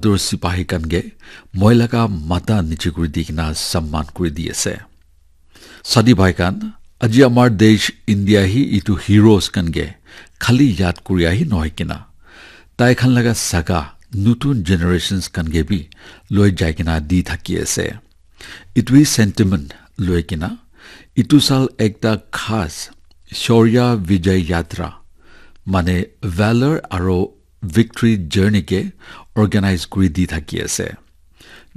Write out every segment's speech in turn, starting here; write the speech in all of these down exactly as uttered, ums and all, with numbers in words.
Tur sipahi khan ke moi laga matha niche kuri di kena samman kuri di ase. Sadi bhai khan, aji amar desh India hi itu heroes khan ke khali yad kuri ahi nohoi kena, tai khan laga saga nutun generations khan ke bi loi jai kena di thaki ase. Itu hi sentiment loi kena, itu sal ekta khas Shaurya Vijay Yatra, mane valor aro victory journey ke organize kuri di thaki ase.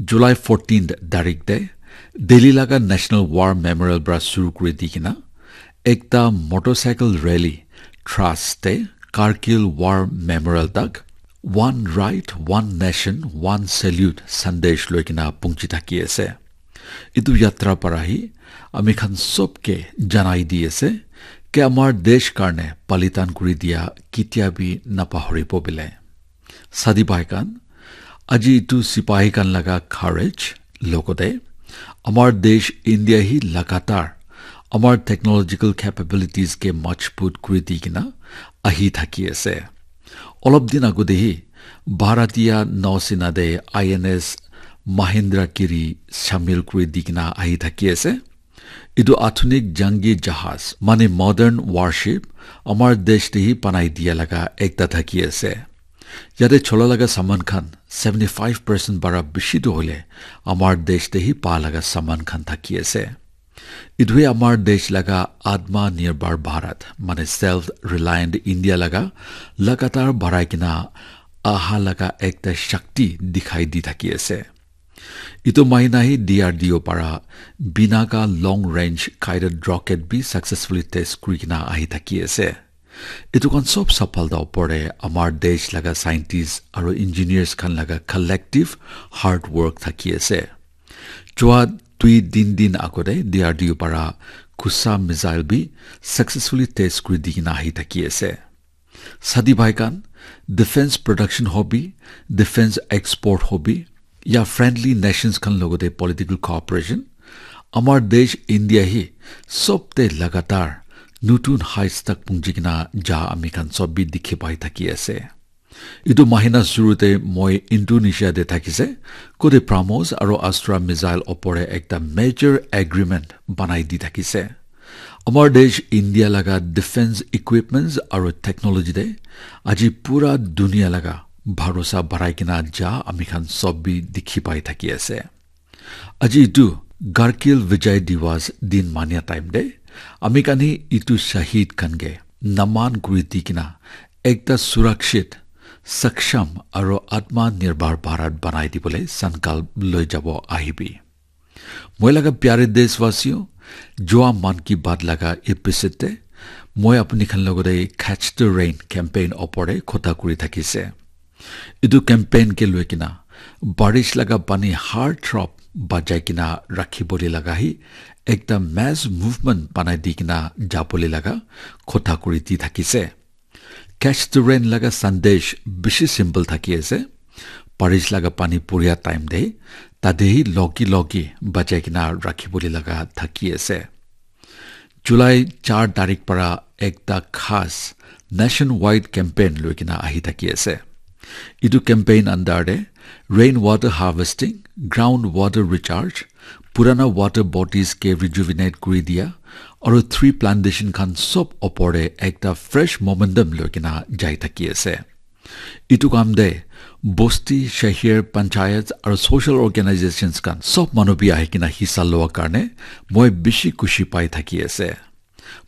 July fourteenth tarik te Delhi laga National War Memorial pra shuru kuri di kena ekta motorcycle rally Dras te Kargil War Memorial tak One Right, One Nation, One Salute sandesh loi kena pungchi thaki ase. Itu yatra para hi ami khan sob ke janai di ase ke amar desh karne balidan kuri dia ketia bi napahoribo bile. Sadi bhai khan, aji itu sipahi khan laga courage, logote amar desh India hi lagatar amar technological capabilities ke majbut kuri di kena ahi thaki ase. Olop din agote hi Bharatiya Nausena te I N S Mahendra Giri shamil kuri di kena ahi thaki ase. Itu athunik jangi jahaz, mane modern warship, amar desh te hi banai dia laga ekta thaki ase. Yate chola laga saman khan seventy five percent bara bishi tu hoile amar desh te hi pa laga saman khan thaki ase. Itu hi amar desh laga Atma Nirbhar Bharat, mane self reliant India laga lagatar barai kena aha laga ekta shakti dikhai di thaki ase. Itu mahina hi D R D O para Pinaka long range guided rocket bi successfully test kuri kena ahi thaki ase. Itu khan sob sapalta opor te amar desh laga scientists aro engineers khan laga collective hard work thaki ase. Chua dui din din agote D R D O para Kusa missile bi successfully test kuri di kena ahi thaki ase. Sadi bhai khan, defense production hobi, defense export hobi, ya friendly nations khan logote political cooperation, amar desh India hi sob te lagatar nutun heights tak pungji kena ja ami khan sob bi dikhi pai thaki ase. Itu mahina shuru te moi Indonesia te thakise, kote BrahMos aro Astra missile opor te ekta major agreement banai di thakise. Amar desh India laga defense equipments aro technology te aji pura dunia laga bharosa barai kena ja ami khan sob bi dikhi pai thaki ase. Aji itu Kargil Vijay Diwas din mania time te ami khan hi itu shahid khan ke naman kuri di kena ekta surakshit, saksham aro Atma Nirbhar Bharat banai dibole sankalp loi jabo ahibi. Moi laga pyare deshwasiyo, jua Mann Ki Baat laga episode te moi apni khan logote Catch the Rain campaign opor te khota kuri thakise. Itu campaign ke loi kena barish laga pani har drop bajai kena rakhi bole laga hi ekta mass movement banai di kena jabole laga khota kuri di thakise. Catch the Rain laga sandesh bishi simple thaki ase. Barish laga pani puria time te tate hi logi logi bajai kena rakhi bole laga thaki ase. July char tarik para ekta khas nationwide campaign loi kena ahi thaki ase. Itu campaign under te rain water harvesting, ground water recharge, purana water bodies ke rejuvenate kuri dia, aru tree plantation khan sob opor te ekta fresh momentum loi kena jai thaki ase. Itu kam te bosti, shahir, panchayat aru social organizations khan sob manu bi ahi kena hissa lowa karne moi bishi khushi pai thaki ase.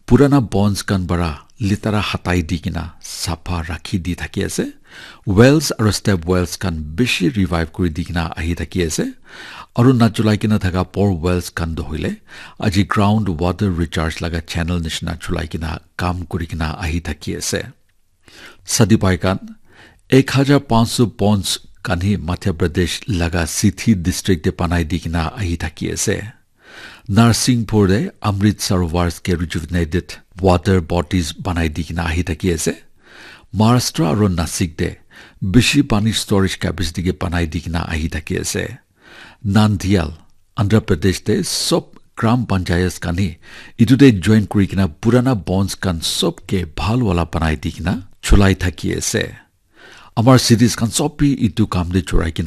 Purana bonds khan para litera hatai di kena sapha rakhi di thaki ase. Wells aru step wells khan bishi revive kuri di kena ahi thaki ase. Aru nachulai kena thaka poor wells khan toh hoile aji ground water recharge laga channel nishina chulai kena kam kuri kena ahi thaki ase. Sadi bhai khan, ek hajar panch sho ponds khan hi Madhya Pradesh laga Sithi district te banai di kena ahi thaki ase. Narsinghpur te Amrit Sarovars ke rejuvenated water bodies banai di kena ahi thaki ase. Maharashtra aru Nasik te bishi pani storage capacity ke banai di kena ahi thaki ase. Nandial, Andhra Pradesh te sob Gram Panchayats khan hi etu te join kuri kena purana bonds khan sob ke bhal wala banai di kena chulai thaki ase. Amar cities khan sob bi etu kam te chorai kena